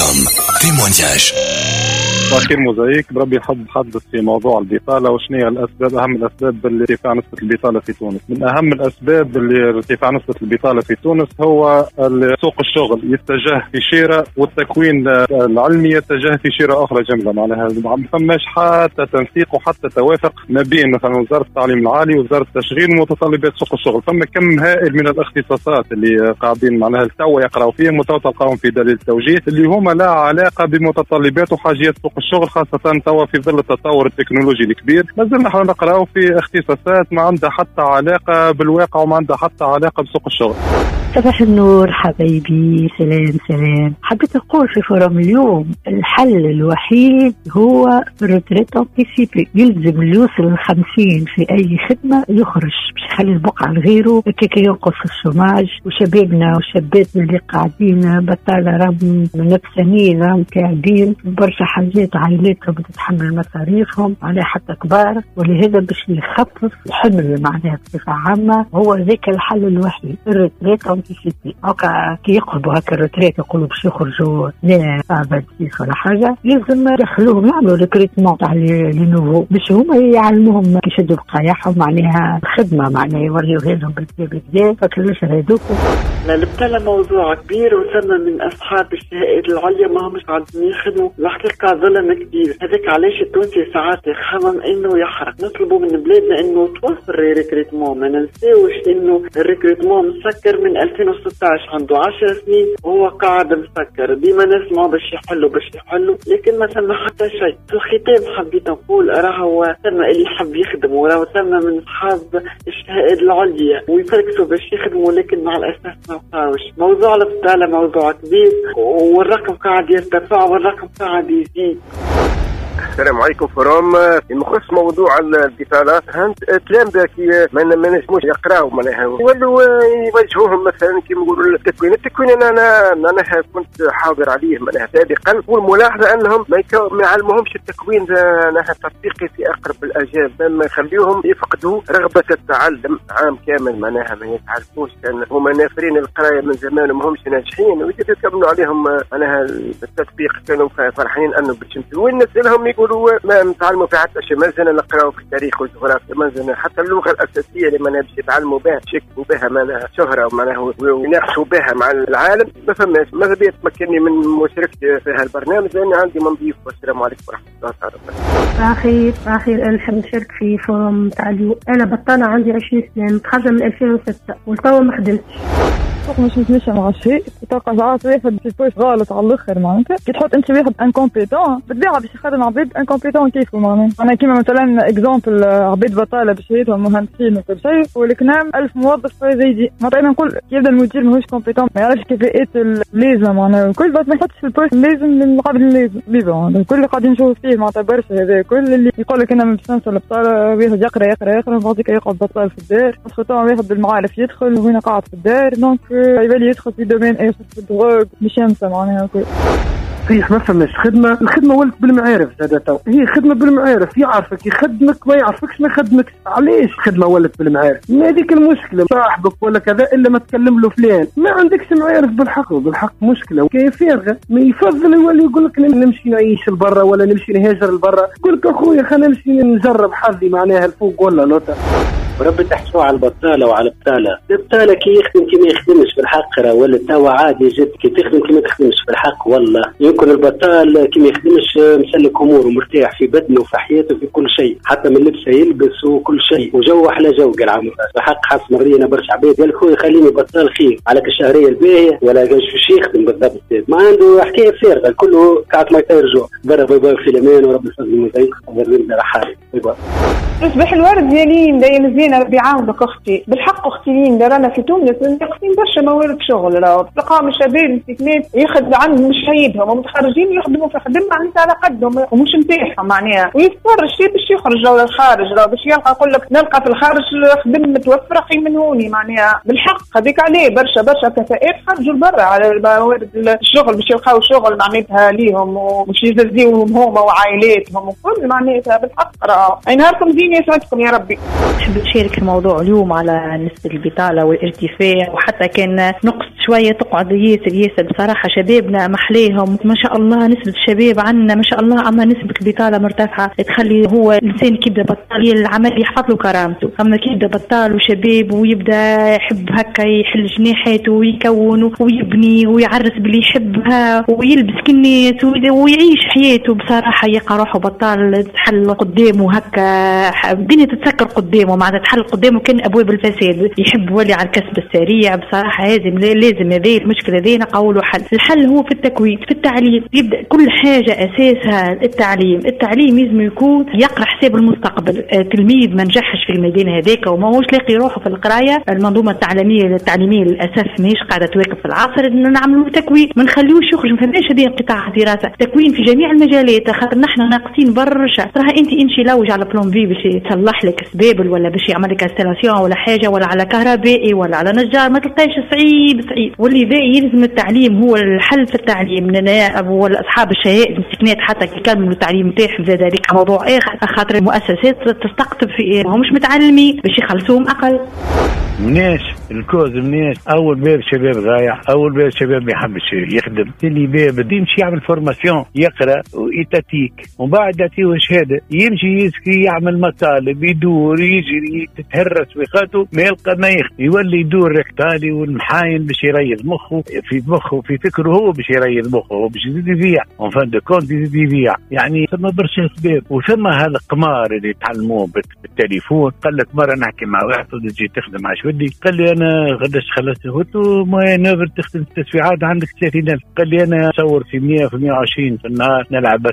com témoignage. أخير موزايك بربي حب حدث في موضوع البطالة وشنو هي الأسباب، أهم الأسباب اللي ارتفاع نسبة البطالة في تونس. من أهم الأسباب اللي ارتفاع نسبة البطالة في تونس هو سوق الشغل يتجه في شيرة والتكوين العلمي يتجه في شيرة أخرى جملة، معناها ما فماش حتى تنسيق وحتى توافق ما بين مثلا وزارة التعليم العالي ووزارة التشغيل ومتطلبات سوق الشغل. فما كم هائل من الاختصاصات اللي قاعدين معناها توا يقراوا فيهم وتوا تلقاهم في دليل التوجيه اللي هما لا علاقة بمتطلبات وحاجيات سوق الشغل، خاصة توا في ظل التطور التكنولوجي الكبير. مازلنا احنا نقراو في اختصاصات ما عندها حتى علاقة بالواقع وما عندها حتى علاقة بسوق الشغل. صباح النور حبايبي، سلام سلام. حبيت أقول في forum اليوم الحل الوحيد هو ال retraite anticipée. يلزم اللي يوصل 50 في أي خدمة يخرج باش يخلي البقعة لغيره، كي ينقص ال chômage. وشبابنا وشاباتنا اللي قاعدين بطالة راهم نفسانيين، راهم قاعدين برشا حاجات، عائلاتهم تتحمل مصاريفهم على حتى كبار، ولهذا باش يخفف الحمل معناها بصفة عامة هو ذاك الحل الوحيد ال retraite anticipée. هكا كي يقربوا هكا ال retraite يقولوا باش يخرجوا لا 26 ولا حاجة، لازم يدخلوهم يعملوا recrutement تاع les nouveaux باش هما يعلموهم كي يشدوا بقايعهم معناها الخدمة، معناها يوريوها لهم بالكدا فكلوش هذوك. البطالة موضوع كبير، وثم من اصحاب الشهادات العليا ما همش قاعدين يخدموا، الحقيقة ظلم كبير. هذاك علاش التونسي ساعات يخمم انه يحرق. نطلبوا من بلادنا انه توفر recrutement، ما ننساوش انه ال recrutement مسكر من 2016، عنده 10 سنين وهو قاعد مسكر. ديما نسمعوا باش يحلوا باش يحلوا، لكن ما ثم حتى شيء. في الختام حبيت نقول راهو ثم اللي حب يخدم، وراهو ثم من اصحاب الشهادات العليا ويفركسوا باش يخدموا، لكن مع الاسف ما لقاوش. موضوع البطالة موضوع كبير، والرقم قاعد يرتفع والرقم قاعد يزيد. السلام عليكم forum. بخصوص موضوع البطالة، التلامذة كي ما نجموش يقراو معناها يولوا يوجهوهم مثلا كيما نقولوا التكوين. التكوين انا معناها كنت حاضر عليه معناها سابقا، والملاحظة انهم ما يعلموهمش التكوين معناها التطبيقي في اقرب الاجال، ما يخليهم يفقدوا رغبة التعلم عام كامل، معناها ما يتعلموش لان هما نافرين القراية من زمان وما همش ناجحين، ويكملوا عليهم معناها التطبيق. كانوا فرحانين انه باش وين نسالهم يقولوا ما نتعلموا في حتى شيء، مازلنا نقراو في التاريخ والجغرافيا، مازلنا حتى اللغة الاساسية اللي ما باش يتعلموا بها يشكوا بها معناها شهره معناها ويناقشوا بها مع العالم ما فماش. ماذا بيا تمكنني من مشاركتي في هالبرنامج لان عندي ما نضيف. والسلام عليكم ورحمة الله تعالى وبركاته. اخير انا نحب نشارك في forum تاع اليوم. انا بطاله عندي 20 سنة، متخرجة من 2006 والتوا ما خدمتش. مش متمشى مع شيء، تلقى ساعات واحد في poste غلط على الاخر، معناتها كي تحط انت واحد incompétent بالطبيعة باش يخدم عباد incompétents كيفو، معناها انا كيما مثلا exemple عباد بطاله بشهادتهم مهندسين وكل شيء، ولكن 1000 موظف زايدين. معناتها انا نقول يبدا المدير ماهوش compétent، ما يعرفش كفاءات اللازمة معناها الكل، بس ما يحطش في ال poste اللازم للعبد اللازم. بيبون الكل اللي قاعدين نشوف فيه معناتها برشا هذا كل اللي يقول لك انا باش نوصل البطالة، واحد يقرا يقرا يقرا بعد يقعد بطال في الدار، واحد بالمعارف يدخل وين قاعد في الدار، donc يبالي يدخل في domaine اخر في ال drogue مش ينسى معناها كل. صحيح ما فماش خدمة، الخدمة ولت بالمعارف زاد تو، هي خدمة بالمعارف، يعرفك يخدمك ما يعرفكش ما يخدمكش. علاش خدمة ولت بالمعارف؟ ما هذيك المشكلة، صاحبك ولا كذا الا ما تكلم له فلان، ما عندكش معارف بالحق، وبالحق مشكلة كيف فارغة. ما يفضل يولي يقول لك نمشي نعيش لبرا ولا نمشي نهاجر لبرا، يقول لك اخويا خلينا نمشي نجرب حظي معناها الفوق ولا لوطا. وربي تحكوا على البطالة وعلى البطالة، البطالة كي يخدم كي ما يخدمش في الحق راه ولا توا عادي جد، كي تخدم كي ما تخدمش في الحق والله. يمكن البطال كي ما يخدمش مسلك اموره مرتاح في بدنه وفي حياته في كل شيء، حتى من لبسه يلبس وكل شيء، وجو احلى جو قال عام الحق. حس مرينا برشا عباد قال لك خويا خليني بطال خير على الشهرية الباهيه، ولا باش يخدم بالضبط، ما عنده حكاية فارغة كله قاعد ما يرجع برا. باي باي في الامان وربي يفضل المزيد رحالي باي باي. صباح الورد يا ليندا يا مزيانه، ربي يعاونك اختي. بالحق اختي ليندا رانا في تونس ناقصين برشا موارد شغل، راهو تلقاهم الشباب مسكنات ياخذ عندهم مش عيبهم ومتخرجين يخدموا في خدمة معناتها على قدهم ومش نتاعهم معناها، ويضطر الشيء باش يخرج للخارج، راهو باش يلقى يقول لك نلقى في الخارج خدم متوفرة خير من هوني معناها. بالحق هذيك عليه برشا برشا كفاءات خرجوا لبرا على موارد الشغل باش يلقاو شغل معناتها ليهم ومش يزيوهم هما وعائلاتهم وكل معناتها. بالحق راهو اي نهاركم زين يسعدكم يا ربي. نحب نشارك نشارك في موضوع اليوم على نسبة البطالة والارتفاع، وحتى كان نقص شوية تقعد ياسر ياسر. بصراحة شبابنا محليهم ما شاء الله، نسبة الشباب عندنا ما شاء الله، أما نسبة البطالة مرتفعة تخلي هو الإنسان كي يبدا بطال العمل يحفظ له كرامته، أما كي يبدا بطال وشباب ويبدا يحب هكا يحل جناحاته ويكون ويبني ويعرس باللي يحبها ويلبس كالناس ويعيش حياته، بصراحة يلقى روحه بطال، تحل قدامه هكا الدنيا تتسكر قدامه، معناتها تحل قدامه كان أبواب الفساد، يحب ولي على الكسب السريع. بصراحة لازم هذه المشكلة هذه نقولوا حل. الحل هو في التكوين، في التعليم، يبدأ كل حاجة أساسها التعليم. التعليم لازم يكون يقرأ حساب المستقبل. تلميذ ما نجحش في الميدان هذاك وما هوش لاقي روحه في القراية، المنظومة التعليمية للأسف ماهيش قاعدة تواكب في العصر. نعملوا تكوين، ما نخليوش يخرج، ما فماش هذه انقطاع دراسة، تكوين في جميع المجالات، خاطر نحن ناقصين برشا. تراها انت امشي لوج على plombier باش يصلح لك سبابل ولا باش يعمل لك installation ولا حاجة، ولا على كهربائي ولا على نجار، ما تلقاش، صعيب صعيب. ولذا يلزم التعليم هو الحل في التعليم. ولا اصحاب الشهائد المسكنات حتى كي يكملوا التعليم نتاعهم زاد هذيك موضوع اخر، خاطر المؤسسات تستقطب في ماهمش متعلمين باش يخلصوهم اقل. مناش ال cause، مناش اول باب شباب ضايع، اول باب شباب ما يحبش يخدم، ثاني باب يمشي يعمل formation، يقرا étatique ومن بعد يعطيه شهادة، يمشي يسكي يعمل مطالب، يدور يجري تتهرس ويخاته، ما يلقى ما يخدم، يولي يدور ركتالي والمحاين باش يريض مخه في مخه في فكرة، هو باش يريض مخه، هو باش يزيد يبيع en fin de compte يزيد يبيع. يعني ثم برشا اسباب، وثم هالقمار اللي تعلموه بالتليفون. قال لك مرة نحكي مع واحد تجي تخدم على ودي، قال لي انا قداش خلصت؟ قلت له moyenne œuvre تخدم 6 ساعات عندك 30,000. قال لي انا نصور في 100 في 120 في النهار، نلعب